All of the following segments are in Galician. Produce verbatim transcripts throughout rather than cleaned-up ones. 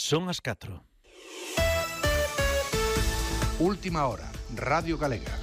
Son as catro. Última hora, Radio Galega.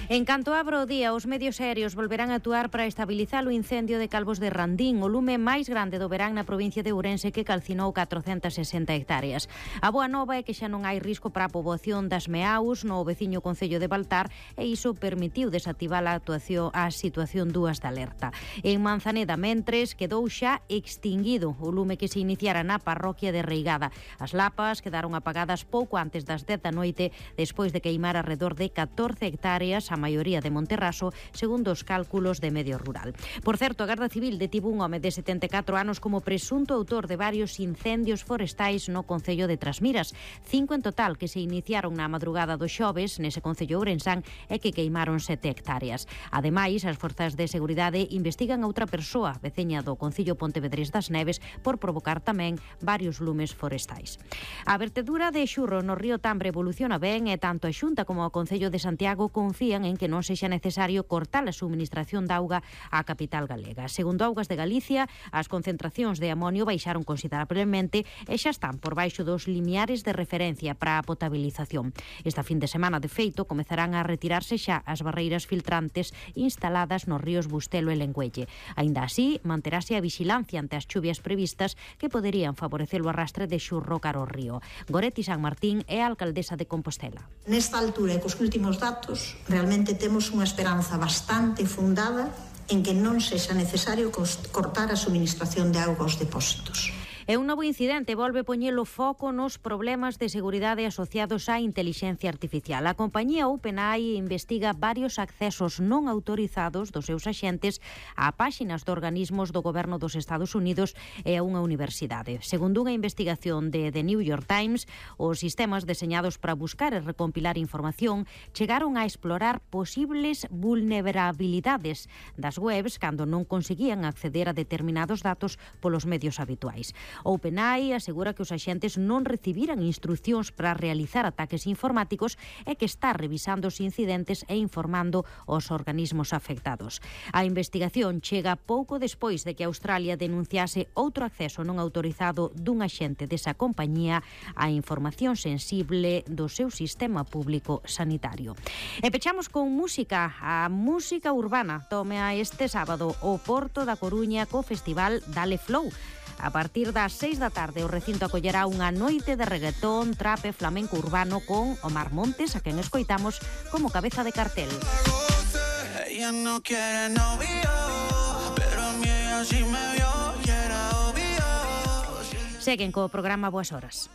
En canto abra o día, os medios aéreos volverán a actuar para estabilizar o incendio de Calvos de Randín, o lume máis grande do verán na provincia de Ourense que calcinou catrocentas sesenta hectáreas. A boa nova é que xa non hai risco para a poboación das Meaus no veciño concello de Baltar e iso permitiu desactivar a actuación a situación dúas de alerta. En Manzaneda, mentres, quedou xa extinguido o lume que se iniciara na parroquia de Reigada. As lapas quedaron apagadas pouco antes das dez da noite despois de queimar alrededor de catorce hectáreas, a maioría de Monterraso, segundo os cálculos de Medio Rural. Por certo, a Garda Civil detivo un home de setenta e catro anos como presunto autor de varios incendios forestais no concello de Trasmiras. Cinco en total que se iniciaron na madrugada do xoves nese concello ourensán e que queimaron sete hectáreas. Ademais, as forzas de seguridade investigan a outra persoa, veciña do concello Pontevedrés das Neves, por provocar tamén varios lumes forestais. A vertedura de xurro no río Tambre evoluciona ben e tanto a Xunta como o Concello de Santiago confían en que non sexa necesario cortar a suministración de auga á capital galega. Segundo Augas de Galicia, as concentracións de amonio baixaron considerablemente e xa están por baixo dos limiares de referencia para a potabilización. Esta fin de semana, de feito, comezarán a retirarse xa as barreiras filtrantes instaladas nos ríos Bustelo e Lengüelle. Aínda así, manterase a vixilancia ante as chuvias previstas que poderían favorecer o arrastre de xurro caro ao río. Goretti San Martín é a alcaldesa de Compostela. Nesta altura e cos últimos datos, realmente temos unha esperanza bastante fundada en que non sexa necesario cortar a suministración de auga aos depósitos. E un novo incidente volve poñelo foco nos problemas de seguridade asociados á intelixencia artificial. A compañía OpenAI investiga varios accesos non autorizados dos seus axentes a páxinas de organismos do goberno dos Estados Unidos e a unha universidade. Segundo unha investigación de The New York Times, os sistemas deseñados para buscar e recompilar información chegaron a explorar posibles vulnerabilidades das webs cando non conseguían acceder a determinados datos polos medios habituais. OpenAI asegura que os axentes non recibiran instruccións para realizar ataques informáticos e que está revisando os incidentes e informando os organismos afectados. A investigación chega pouco despois de que Australia denunciase outro acceso non autorizado dun axente desa compañía á información sensible do seu sistema público sanitario. E pechamos con música. A música urbana tome a este sábado o Porto da Coruña co festival Dale Flow. A partir das seis da tarde o recinto acollerá unha noite de reggaetón, trap e flamenco urbano con Omar Montes, a quen escoitamos como cabeza de cartel. Ella no quiere novio, pero a mí así me vio y era obvio. Seguen co programa Boas Horas.